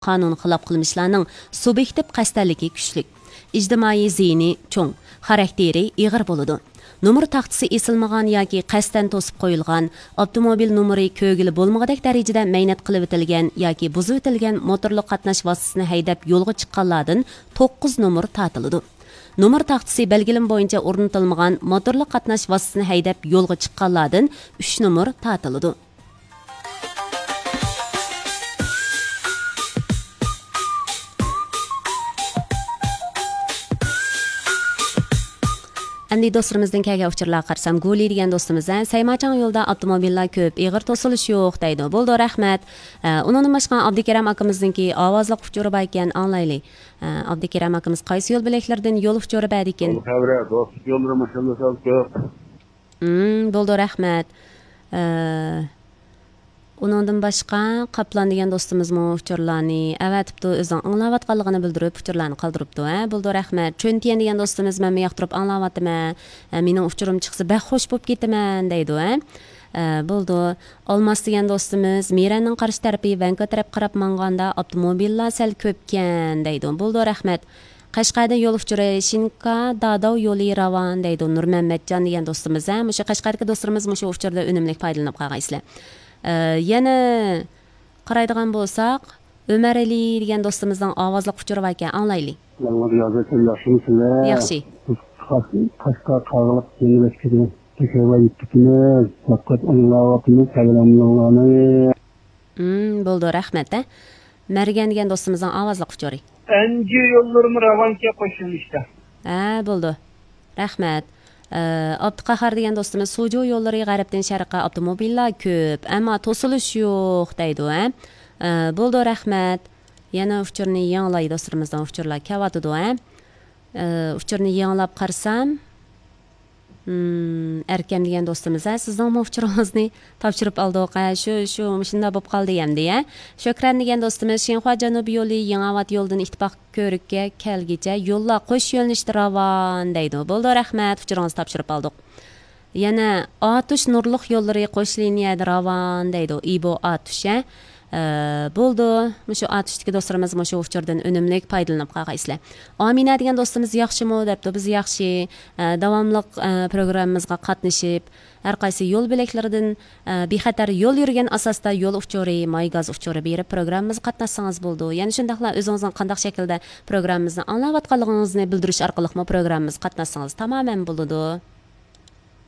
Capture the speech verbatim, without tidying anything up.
قانۇنغا خىلاپ قىلمىشلارنىڭ سۇبيېكتىپ قەستەنلىكى كۈچلۈك، ئىجتىمائىي زىيىنى چوڭ، خاراكتېرى ئېغىر بولىدۇ. نومۇر تاختىسى ئېسىلمىغان ياكى قەستەن توسۇپ قويۇلغان، ئاپتوموبىل نومۇرى كۆرگىلى بولمىغۇدەك دەرىجىدە مەينەت قىلىۋېتىلگەن ياكى بۇزۇۋېتىلگەن موتورلۇق قاتناش ۋاسىتىسىنى ھەيدەپ يولغا چىققانلاردىن توققۇز نومۇر تارتىلىدۇ. نومۇر تاختىسى بەلگىلىمە بويىچە ئورنىتىلمىغان موتورلۇق قاتناش ۋاسىتىسىنى ھەيدەپ يولغا چىققانلاردىن ئۈچ نومۇر تارتىلىدۇ. ئەمدى دوستلىرىمىزدىن كەلگەن ئۇچۇرلارغا قارىسام، گۇلى دېگەن دوستىمىز، ھە، سەيماچاڭ يولىدا ئاپتوموبىللار كۆپ، ئېغىر توسۇلۇش يوق دەيدۇ. بولىدۇ، رەھمەت. ئە، ئۇنىڭدىن باشقا ئابدۇكېرەم ئاكىمىزنىڭكى ئاۋازلىق ئۇچۇرى بار ئىكەن، ئاڭلايلى. ئە، ئابدۇكېرەم ئاكىمىز قايسى يول بۆلەكلىرىدىن يول ئۇچۇرى بەردىكىن؟ يول خەۋىرى، دوستلۇق يوللىرى ماشىنىلار سەل كۆپ. مم، بولىدۇ، رەھمەت. ئە، ئۇنىڭدىن باشقا، قاپلان دېگەن دوستىمىزمۇ ئۇچۇرلارنى ئەۋەتىپتۇ، ئۆزىنىڭ ئاڭلاۋاتقانلىقىنى بىلدۈرۈپ، ئۇچۇرلارنى قالدۇرۇپتۇ، ھە، بولىدۇ، رەھمەت. چۈنتيەن دېگەن دوستىمىز، مەنمۇ ياقتۇرۇپ ئاڭلاۋاتىمەن، ھە، مېنىڭ ئۇچۇرۇم چىقسا بەك خوش بولۇپ كېتىمەن، دەيدۇ، ھە. ئە، بولىدۇ. ئالماس دېگەن دوستىمىز، مىرەننىڭ قارشى تەرىپى ۋەنكۇ تەرەپكە قاراپ مانغاندا ئاپتوموبىللار سەل كۆپكەن، دەيدۇ. بولىدۇ، رەھمەت. قەشقەردىن يول ئۇچۇرى شىنكا داداۋ يولى راۋان دەيدۇ نۇرمەممەتجان دېگەن دوستىمىز، ھە، مۇشۇ قەشقەردىكى دوستلىرىمىز مۇشۇ ئۇچۇردا ئۈنۈملۈك پايدىلىنىپ قالغايسىلەر. ئە، يەنە قارايدىغان بولساق، ئۆمەر ئەلى دېگەن دوستىمىزنىڭ ئاۋازلىق ئۇچۇرى باركەن، ئاڭلايلى. مەن رىيازەتتىن ياخشىمۇسىلەر؟ ياخشى. قاش-، قاشقا قاغىلىق يېڭىۋەتكىدى. تېخى ۋايىتتىكىمىز، دىققەت ئاڭلاۋاتىمىز، سەۋرەملىڭلارنى. مم، بولىدۇ، رەھمەت، ھە. مەرگەن دېگەن دوستىمىزنىڭ ئاۋازلىق ئۇچۇرى. ئەنجۈ يوللىرىمۇ راۋانكەن قوش يۆنىلىشتە. ھە، بولىدۇ. رەھمەت. ئە، ئابدۇقاھار دېگەن دوستىمىز، سۇجۇ يوللىرى غەربتىن شەرققە ئاپتوموبىللار كۆپ، ئەمما توسۇلۇش يوق دەيدۇ، ھە. ئە، بولىدۇ، رەھمەت. يەنە ئۇچۇرنى يېڭىلاي، دوستلىرىمىزنىڭ ئۇچۇرلار كەۋاتىدۇ، ھە. ئە، ئۇچۇرنى يېڭىلاپ قارىسام، مم، ئەركەم دېگەن دوستىمىز، ھە، سىزنىڭمۇ ئۇچۇرىڭىزنى تاپشۇرۇپ ئالدۇق، ھە، شۇ، شۇ، مۇشۇنداق بولۇپ قالدى ئەمدى، ھە. شۆھرەت دېگەن دوستىمىز، شىنخۇا جەنۇبىي يولى يېڭىئاۋات يولىدىن ئىتتىپاق كۆۋرۈككە كەلگۈچە يوللار قوش يۆنىلىشتە راۋان دەيدۇ. بولىدۇ، رەھمەت، ئۇچۇرىڭىزنى تاپشۇرۇپ ئالدۇق. يەنە ئاتۇش نۇرلۇق يوللىرى قوش لىنىيەدە راۋان دەيدۇ. ئىبو ئاتۇش، ھە. ئە، بولىدۇ. مۇشۇ ئاتۇشتىكى دوستلىرىمىز مۇشۇ ئۇچۇردىن ئۈنۈملۈك پايدىلىنىپ قالغايسىلەر. ئامىنە دېگەن دوستىمىز ياخشىمۇ دەپتۇ. بىز ياخشى. ئە، داۋاملىق، ئە، پروگراممىمىزغا قاتنىشىپ، ھەر قايسى يول بۆلەكلىرىدىن، ئە، بىخەتەر يول يۈرگەن ئاساستا يول ئۇچۇرى، ماي گاز ئۇچۇرى بېرىپ پروگراممىمىزغا قاتناشسىڭىز بولىدۇ. يەنە شۇنداقلا ئۆزىڭىزنىڭ قانداق شەكىلدە پروگراممىمىزنى ئاڭلاۋاتقانلىقىڭىزنى بىلدۈرۈش ئارقىلىقمۇ پروگراممىمىزغا قاتناشسىڭىز تامامەن بولىدۇ.